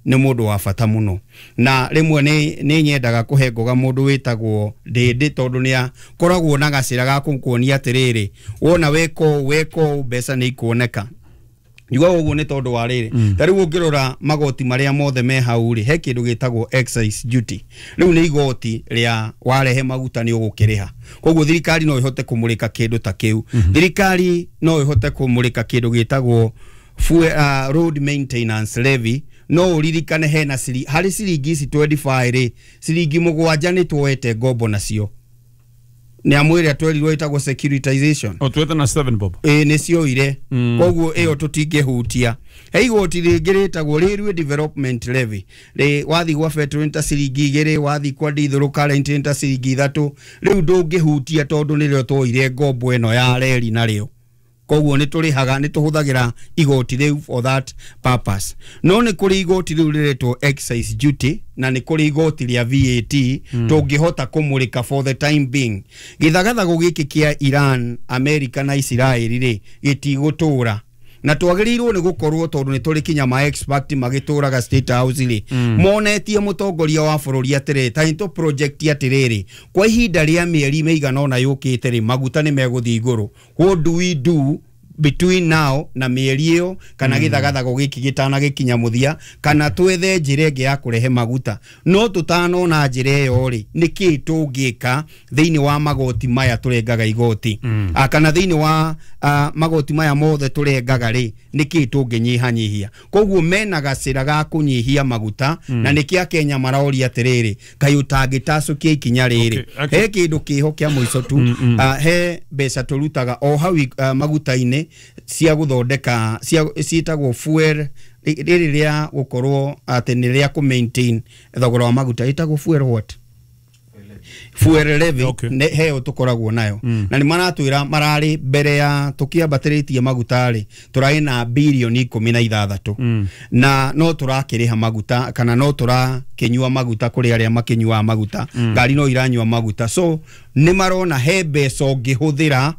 nĩ mũndũ wa bata mũno, na rĩmwe nĩ nĩ nyendaga kũhe ngoga mũndũ wĩtagwo Ndĩndĩ tondũ nĩ akoragwo na gacĩra ga kũkuonia atĩrĩrĩ wona weka ũũ weka ũũ mbeca nĩ ikuoneka. Njugaga ũguo nĩ tondũ wa rĩrĩ, ta rĩu ũngĩrora magoti marĩa mothe me hau rĩ, he kĩndũ gĩtagwo excise duty. Rĩu nĩ igoti rĩa warehe maguta nĩ ũgũkĩrĩha, koguo thirikari no ĩhote kũmũrĩka kĩndũ ta kĩu. Thirikari no ĩhote kũmũrĩka kĩndũ gĩtagwo fuel, uh, road maintenance levy. No ũririkane hena ciri harĩ ciringi ici twenty-five rĩ, ciringi mũgwanja nĩ tuoete ngombo nacio nĩ amwe ĩrĩa twerirwo ĩtagwo securitization o tuwete na seven bob ĩ nĩ cioire, koguo ĩyo tũtingĩhutia. He igoti rĩngĩ rĩtagwo Railway Development Levy, rĩ wathi gwa betũrũ nĩ ta ciringi igĩrĩ, wathi kwa ndithũrũ current nĩ ta ciringi ithatũ. Rĩu ndũngĩhutia tondũ nĩrĩo tuoire ngombo ĩno ya reri narĩo, koguo nĩ tũrĩhaga nĩ tũhũthagĩra igoti rĩu for that purpose. No nĩ kũrĩ igoti rĩu rĩretwo excise duty na nĩ kũrĩ igoti rĩa V A T mm. tũngĩhota kũmũrĩka for the time being. Gĩthagathago gĩkĩ kĩa Iran, America na Israel rĩ gĩtigũtũra, na twagĩrĩirwo nĩ gũkorwo tondũ nĩ tũrĩ kinya ma expert magĩtũraga State House rĩ, mm. monetie mũtongoria wa bũrũri atĩrĩ ta nĩ tũ project atĩrĩrĩ kwa ihinda rĩa mĩeri mĩigana ũna yũkĩte rĩ maguta nĩ megũthiĩ igũrũ, what do we do Between now na mĩeri ĩyo kana mm. gĩthagathago gĩkĩ gĩtana gĩkinya mũthia, kana twethe njĩra ĩngĩ ya kũrehe maguta. No tũtanona njĩra ĩyo rĩ, nĩkĩ tũngĩka thĩinĩ wa magoti maya tũrengaga igoti mm. A, kana thĩinĩ wa a, magoti maya mothe tũrengaga rĩ, nĩkĩ tũngĩnyihanyihia? Koguo mena gacĩra ga kũnyihia maguta mm. na nĩkĩ Akenya maroria atĩrĩrĩ, kaĩ ũtangĩtacũkia ikinya rĩrĩ? Okay, okay. He kĩndũ kĩho kĩa mũico tu mm, mm. Uh, he mbeca tũrutaga o hau uh, maguta-inĩ cia gũthondeka cia ciĩtagwo fuel, rĩrĩ rĩa gũkorwo atĩ nĩ rĩa kũ maintain thogora wa maguta, ĩtagwo fuel what? Fuel levy. Okay. Ne heo tukoragwo nayo mm. na nĩ maratwĩra mararĩ mbere ya tũkĩambatĩrĩtie maguta rĩ, tũrarĩ na bilioni ikũmi na ithathatũ mm. na no tũrakĩrĩha maguta kana no tũrakĩnyua maguta kũrĩ arĩa makĩnyuaga maguta mm. ngari no iranyua maguta, so nĩ marona he mbeca ũngĩhũthĩra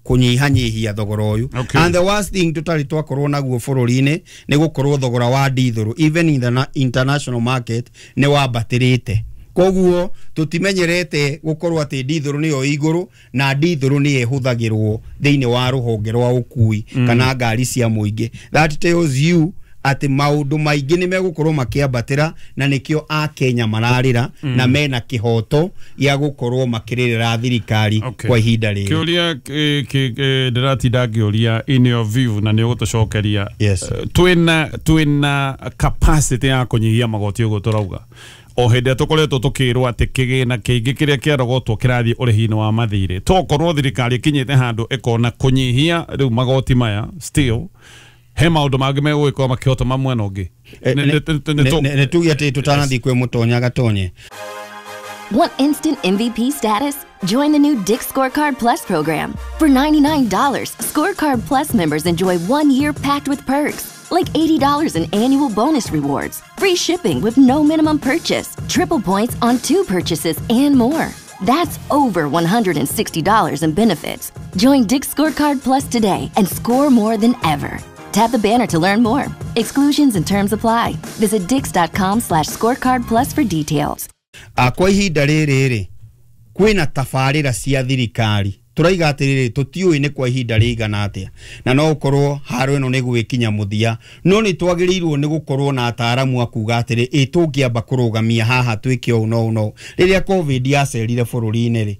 kũnyihanyihia thogora ũyũ. Okay. And the worst thing tũtarĩ twakorwo naguo bũrũri-inĩ nĩ gũkorwo thogora wa ndithũrũ even in the na- international market nĩ wambatĩrĩte. Koguo tũtimenyerete gũkorwo atĩ ndithũrũ nĩyo igũrũ, na ndithũrũ nĩyo ĩhũthagĩrwo thĩinĩ wa rũhonge rwa ũkui mm. kana ngari cia mũingĩ. That tells you atĩ maũndũ maingĩ nĩ megũkorwo makĩambatĩra, na nĩkĩo Akenya mararĩra mm. na mena kĩhoto gĩa gũkorwo makĩrĩrĩra thirikari Okay. kwa ihinda rĩrĩ. Kĩũria ndĩratinda ngĩũria in your view na nĩ ũgũtũcokeria. Yes. Eh, twĩna twĩna capacity ya kũnyihia magoti ũguo tũrauga o hĩndĩ ĩrĩa tũkoretwo tũkĩrwo atĩ kĩgĩna kĩingĩ kĩrĩa kĩarogotwo kĩrathiĩ ũrĩhi-inĩ wa mathirĩ, tokorwo thirikari ĩkinyĩte handũ ĩkona kũnyihia rĩu magoti maya, still he maũndũ mangĩ megũgĩkorwo makĩhotoma mwena ũngĩ. Eh, Nĩ- nĩ- nĩ- nĩ- nĩ- nĩ- nĩ- nĩ tuge atĩ tũtanathiĩ kwĩ mũtonya gatonye. Want instant M V P status? Join the new Dick's Scorecard Plus program. For ninety-nine dollars, Scorecard Plus members enjoy one year packed with perks, like eighty dollars in annual bonus rewards, free shipping with no minimum purchase, triple points on two purchases, and more. That's over one hundred sixty dollars in benefits. Join Dick's Scorecard Plus today and score more than ever. Tap the banner to learn more. Exclusions and terms apply. Visit dicks.com slash scorecard plus for details. A, kwa ihinda rĩrĩ rĩ, kwĩna tabarĩra cia thirikari tũraiga atĩrĩrĩ, tũtiũĩ nĩ kwa ihinda rĩigana atĩa, na no ũkorwo haro ĩno nĩ gwĩkinya mũthia, no nĩ twagĩrĩirwo nĩ gũkorwo na ataaramu a kuga atĩrĩ, ĩ tũngĩamba kũrũgamia haha twĩke ũũ no ũũ no ũũ. Rĩrĩa COVID yacerire bũrũri-inĩ rĩ,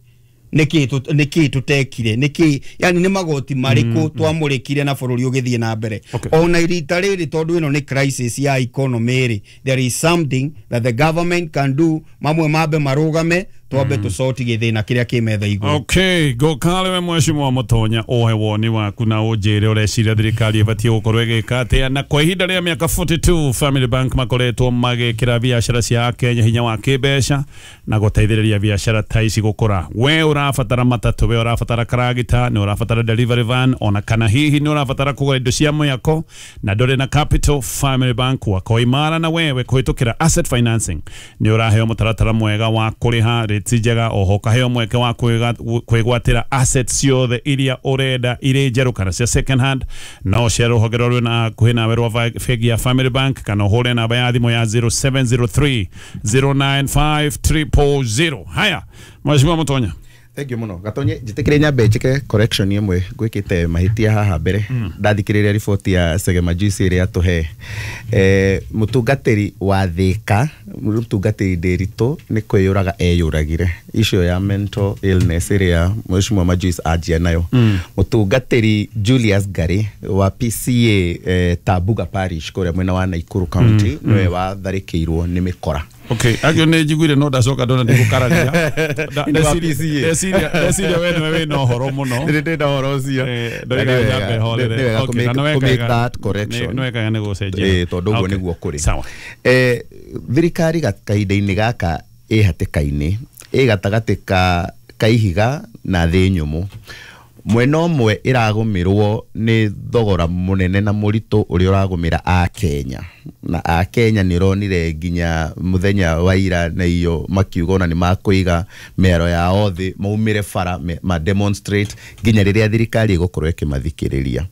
nĩkĩ tũ- nĩkĩ tũtekire, nĩkĩ yani nĩ magoti marĩkũ twamũrĩkire na bũrũri ũgĩthiĩ na mbere? Okay. Ona rita rĩrĩ tondũ ĩno nĩ crisis ya economy rĩ, there is something that the government can do, mamwe mambe marũgame twambe tũcoti gĩthĩna kĩrĩa kĩ metha igũrũ. Okay, ngũkale we mheshimiwa Mũtonya ũhe woni waku na ũnjĩre ũreciria thirikari ĩbatiĩ gũkorwo ĩgĩka atĩa. Na kwa ihinda rĩa mĩaka forty-two Family Bank makoretwo magĩkĩra biacara cia Akenya hinya wa kĩmbeca na gũteithĩrĩria biacara ta ici gũkũra. We ũrabatara matatũ, we ũrabatara karagita, nĩ ũrabatara delivery van, ona kana hihi nĩ ũrabatara kũgũra indo cia mwako na ndũrĩ na capital, Family Bank wako imara na wewe kũhĩtũkĩra asset financing nĩ ũraheo mũtaratara mwega wa kũrĩha rĩti njega, oho ũkaheo mweke wa kwĩgwatĩra assets ciothe iria ũrenda irĩ njerũ kana cia second hand. No ũcere rũhonge rũrĩa rwĩna hakuhĩ nawe rwa bengi ya Family Bank kana ũhũre namba ya thimũ ya zero seven zero three zero nine five triple zero. Haya, Mheshimiwa Mũtonya. Thank you muno. Gatonye njitikire nyambe njike correction imwe gwikite mahitia haha mbere. Ndathikiriria report ya Segema Juice ĩrĩa atuhe. Eh mutungatiri wa Thika, mutungatiri Ndiritu ni kwiyuraga eyuragire. Issue ya mental illness ĩrĩa Mheshimiwa Majuice anjia nayo. Mutungatiri Julius Gari wa P C A eh, Tabuga Parish kũrĩa mwena wa Nakuru County niwe watharĩkĩirwo nĩ mĩkora. Okay, agio nĩ njiguire no ndacoka ndona ndigũkararia. Nĩ wa P C A. Ndeciria ndeciria we nĩwe wĩna ũhoro mũno. Nĩ ndĩna ũhoro ũcio. Ndoiga nyambe horere. Nĩ wega Okay, na kũ nĩ make wekaga- that correction. Nĩ wekaga nĩ gũcenjia. Eh, tondũ ũguo Okay. nĩguo kũrĩ. Sawa. Eh, thirikari kahinda-inĩ gaka ĩ hatĩka-inĩ, ĩ gatagatĩ ka ka ihiga na thĩ nyũmũ. Mwena ũmwe ĩragũmĩrwo nĩ thogora mũnene na mũritũ ũrĩa ũragũmĩra Akenya. Na Akenya nĩ ũronire nginya mũthenya wa ira na iyo makiuga ona nĩ makũiga mĩaro yao thĩ maumĩre bara ma demonstrate nginya rĩrĩa thirikari ĩgũkorwo ĩkĩmathikĩrĩria.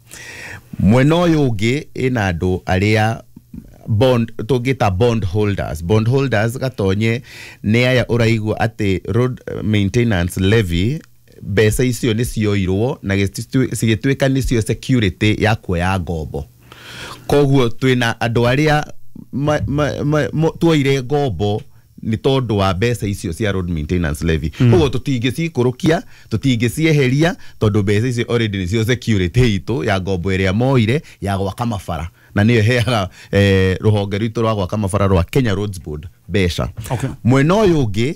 Mwena ũyũ ũngĩ ĩna andũ arĩa bond tũngĩta bond holders. Bond holders gatonye nĩ aya ũraigua atĩ road maintenance levy mbeca icio nĩ cioirwo na cigĩtuĩka nĩcio security ya kuoya ngombo. Koguo twĩna andũ arĩa tuoire ngombo nĩ tondũ wa mbeca icio cia road maintenance levy. Koguo tũtingĩcikũrũkia, tũtingĩcieheria tondũ mbeca icio already nĩcio security itũ ya ngombo ĩrĩa moire ya gwaka mabara, na nĩyo ĩheaga eh, rũhonge rwitũ rwa gwaka mabara rwa Kenya Roads Board mbeca. Okay. Mwena ũyũ ũngĩ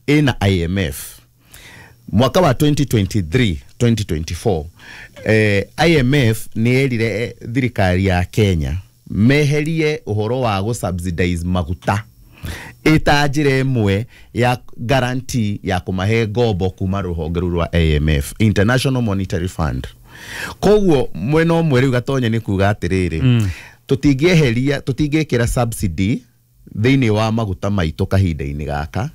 ĩna I M F. Mwaka wa twenty twenty-three twenty twenty-four eh, I M F nĩ yerire thirikari ya Kenya meherie ũhoro wa gũ subsidize maguta ĩta njĩra ĩmwe ya guarantee ya kũmahe ngombo kuma rũhonge rũu rwa I M F, International Monetary Fund. Koguo mwena ũmwe rĩu Gatonye nĩ kuga atĩrĩrĩ, mm. tũtingĩeheria, tũtingĩkĩra subsidy thĩinĩ wa maguta maitũ kahinda-inĩ gaka.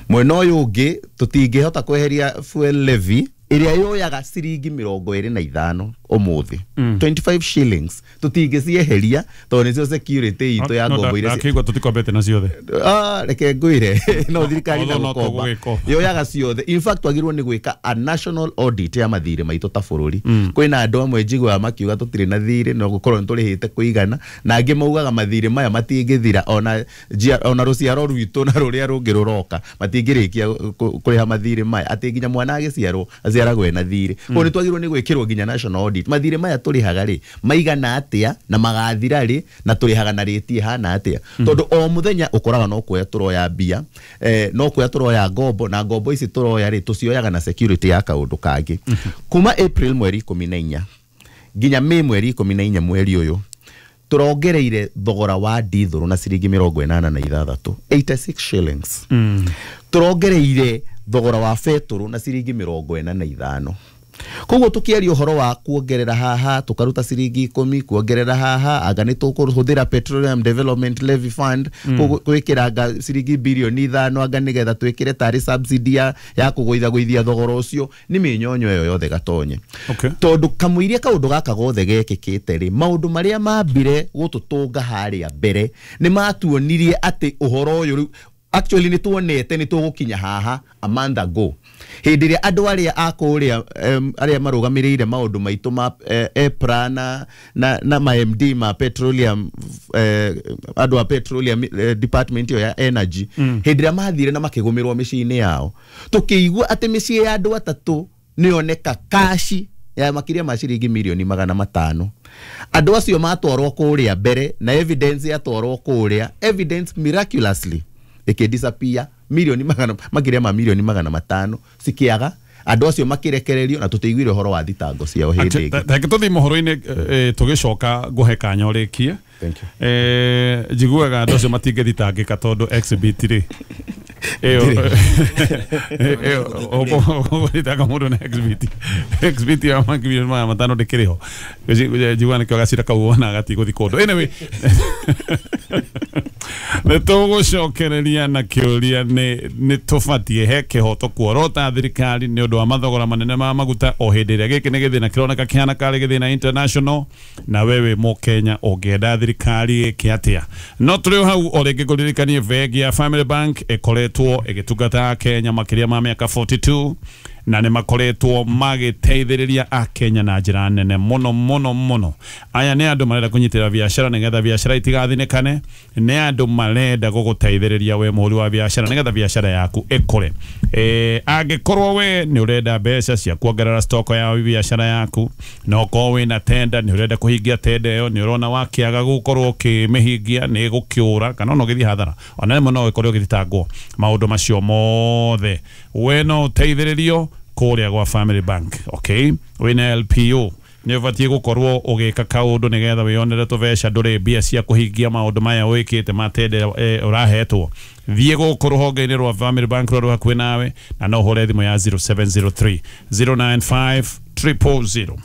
Mwena ũyũ ũngĩ tũtingĩhota kweheria fuel levy ĩrĩa yoyaga ciringi mĩrongo ĩrĩ na ithano ũmũthĩ, mm. twenty-five shillings tũtingĩcieheria tondũ nĩcio security itũ ya ngombo iria ndakĩigua tũtikombete na ciothe. Ah, reke ngwĩre no thirikari na gũkomba yoyaga ciothe. In fact twagĩrĩirwo nĩ gwĩka a national audit ya mathirĩ maitũ ta bũrũri. mm. Kwĩna andũ amwe njiguaga makiuga tũtirĩ na thirĩ no gũkorwo nĩ tũrĩhĩte kũigana, na angĩ maugaga mathirĩ maya matingĩthira ona ona rũciaro rwitũ na rũrĩa rũngĩ rũroka matingĩrĩkia kũrĩha mathirĩ maya, atĩ nginya mwana agĩciarwo aciaragwo ena thirĩ. Koguo nĩ twagĩrĩirwo nĩ gwĩkĩrwo nginya national audit, mathirĩ maya tũrĩhaga rĩ maigana atĩa na magathira rĩ na tũrĩhaga na rĩti ĩhana atĩa, tondũ o mũthenya ũkoraga no kuoya tũroya mbia, eh, no kuoya tũroya ngombo, na ngombo ici tũroya rĩ tũcioyaga na security ya kaũndũ kangĩ. Kuma April mweri ikũmi na inya nginya May mweri ikũmi na inya mweri ũyũ tũrongereire thogora wa ndithũrũ na ciringi mĩrongo ĩnana na ithathatũ, eighty-six shillings. mm. Tũrongereire thogora wa betũrũ na ciringi mĩrongo ĩna na ithano. Koguo tukiaria ũhoro wa kuongerera haha tukaruta ciringi ikũmi, kuongerera haha anga nĩ tũkũhũthĩra Petroleum Development Levy Fund gwĩkĩra ciringi bilioni ithano anga nĩgetha twĩkĩre tarĩ subsidy ya, ya kũgũithagũithia thogora ũcio, nĩ mĩnyonyo ĩyo yothe Gatonye. Okay. Tondũ kamũiria kaũndũ gaka gothe gekĩkĩte rĩ, maũndũ marĩa mambire gũtũtũnga harĩa mbere nĩ matuonirie atĩ ũhoro ũyũ rĩu actually nĩ tuonete nĩ tũgũkinya haha a month ago hĩndĩ ĩrĩa andũ arĩa a kũrĩa um, arĩa marũgamĩrĩire maũndũ maitũ ma eh, EPRA na, na, na ma M D ma petroleum eh, andũ a petroleum eh, department ĩyo ya energy, mm. hĩndĩ ĩrĩa mathire na makĩgũmĩrwo mĩciĩ-inĩ yao tũkĩigua atĩ mĩciĩ ya andũ atatũ nĩyoneka kashi ya makĩria ma ciringi milioni magana matano. Andũ acio matwarwo kũrĩa mbere na evidence yatwarwo kũrĩa, evidence miraculously ikidisappear milioni magana makiria ma milioni magana matano cikiaga, andũ acio makirekererio na tũtiguire ũhoro wa thitango ciao hĩndĩ ĩngĩ. Reke tũthiĩ mohoro-inĩ tũgĩcoka ngũhe kanya ũrĩkie. Eh, njiguaga andũ acio matingĩthitangĩka tondũ exhibit rĩ ĩyo ĩyo ũgũthitanga mũndũ na exhibit exhibit ya makiri magana matano ndĩkĩrĩ ho, njiguaga nĩkĩo gacira kau wona gatigũthiĩ kũndũ. Anyway, nĩ tũgũcokereria na kĩũria nĩ nĩ tũbatiĩ he kĩhoto kuorota thirikari nĩ ũndũ wa mathogora manene ma maguta o hĩndĩ ĩrĩa gĩkĩ nĩ gĩthĩna kĩroneka kĩhana karĩ gĩthĩna international, na wewe mũkenya ũngĩenda thirikari ĩke atĩa. No tũrĩ o hau o rĩngĩ ngũririkanie bengi ya Family Bank ĩkoretwo ĩgĩtungata Kenya makĩria ma mĩaka forty-two na nĩ makoretwo magĩteithĩrĩria akenya na njĩra nene mũno mũno mũno. Aya nĩ andũ marenda kũnyitĩrĩra biacara nĩgetha biacara itigathinĩkane, nĩ andũ marenda gũgũteithĩrĩria we mũhũri wa biacara nĩgetha biacara yaku ĩkũre. Eh, angĩkorwo we nĩ ũrenda mbeca cia kuongerera stock ya biacara yaku, na ũkorwo wĩna tenda nĩ ũrenda kũhingia tenda ĩyo, nĩ ũrona wakĩaga gũkorwo ũkĩmĩhingia nĩ ĩgũkĩũra kana ona ũgĩthiĩ hathara, ona rĩmwe no ũkorwo ũgĩthitangwo. Maũndũ macio mothe we no ũteithĩrĩrio kũrĩa gwa Family Bank. Okay, wĩna L P O nĩ ũbatiĩ gũkorwo ũgĩka kaũndũ nĩgetha wĩyonere tũbeca, ndũrĩ mbia cia kũhingia maũndũ maya wĩkĩte matende ũrahetwo. Thiĩ gũkũ rũhonge-inĩ rwa Family Bank rũrĩa rwĩ hakuhĩ nawe na no ũhũre thimũ ya zero seven zero three zero nine five triple zero.